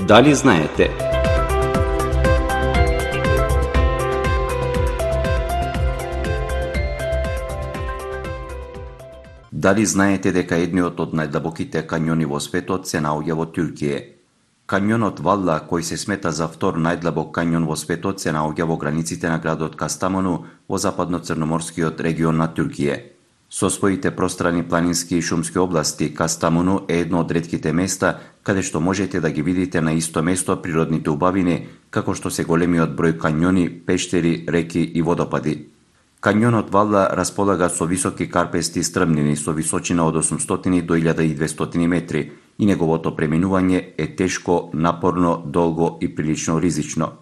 Дали знаете? Дали знаете дека едниот од најдлабоките кањони во светот се наоѓа во Турција? Кањонот Валла, кој се смета за втор најдлабок кањон во светот, се наоѓа во границите на градот Кастамону во западно-црноморскиот регион на Турција. Со своите пространи планински и шумски области, Кастамону е едно од ретките места каде што можете да ги видите на исто место природните убавини, како што се големиот број кањони, пештери, реки и водопади. Кањонот Валла располага со високи карпести стрмнини со височина од 800 до 1200 метри и неговото преминување е тешко, напорно, долго и прилично ризично.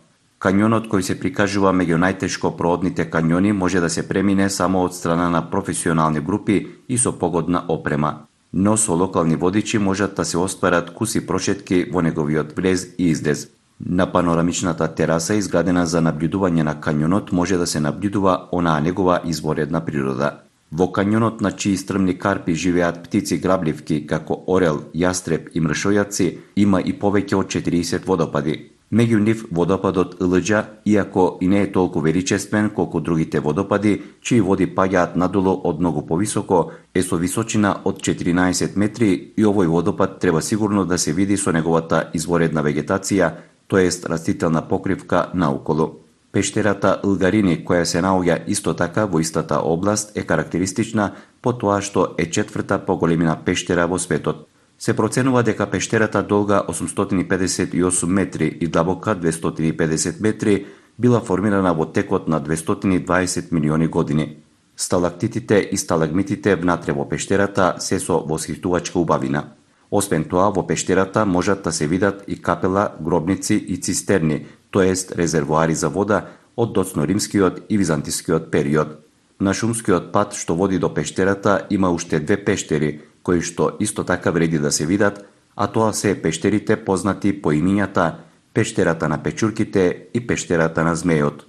Кањонот кој се прикажува меѓу најтешко проодните кањони може да се премине само од страна на професионални групи и со погодна опрема, но со локални водичи можат да се остварат куси прошетки во неговиот влез и излез. На панорамичната тераса изградена за набљудување на кањонот може да се набљудува онаа негова изворедна природа. Во кањонот на чии стрмни карпи живеат птици грабливки како орел, јастреб и мршојаци, има и повеќе од 40 водопади. Меѓу нив водопадот Илџа, иако и не е толку величествен колку другите водопади, чии води паѓаат надолу од многу повисоко, е со височина од 14 метри и овој водопад треба сигурно да се види со неговата изворедна вегетација, тоест растителна покривка наоколу. Пештерата Илгарини, која се наоѓа исто така во истата област, е карактеристична по тоа што е четврта по големина пештера во светот. Се проценува дека пештерата долга 858 метри и длабока 250 метри била формирана во текот на 220 милиони години. Сталактитите и сталагмитите внатре во пештерата се со восхитувачка убавина. Освен тоа, во пештерата можат да се видат и капела, гробници и цистерни, тоест резервоари за вода од доцно-римскиот и византискиот период. На шумскиот пат што води до пештерата има уште две пештери, кои што исто така вреди да се видат, а тоа се пештерите познати по имињата пештерата на печурките и пештерата на змејот.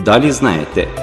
Дали знаете?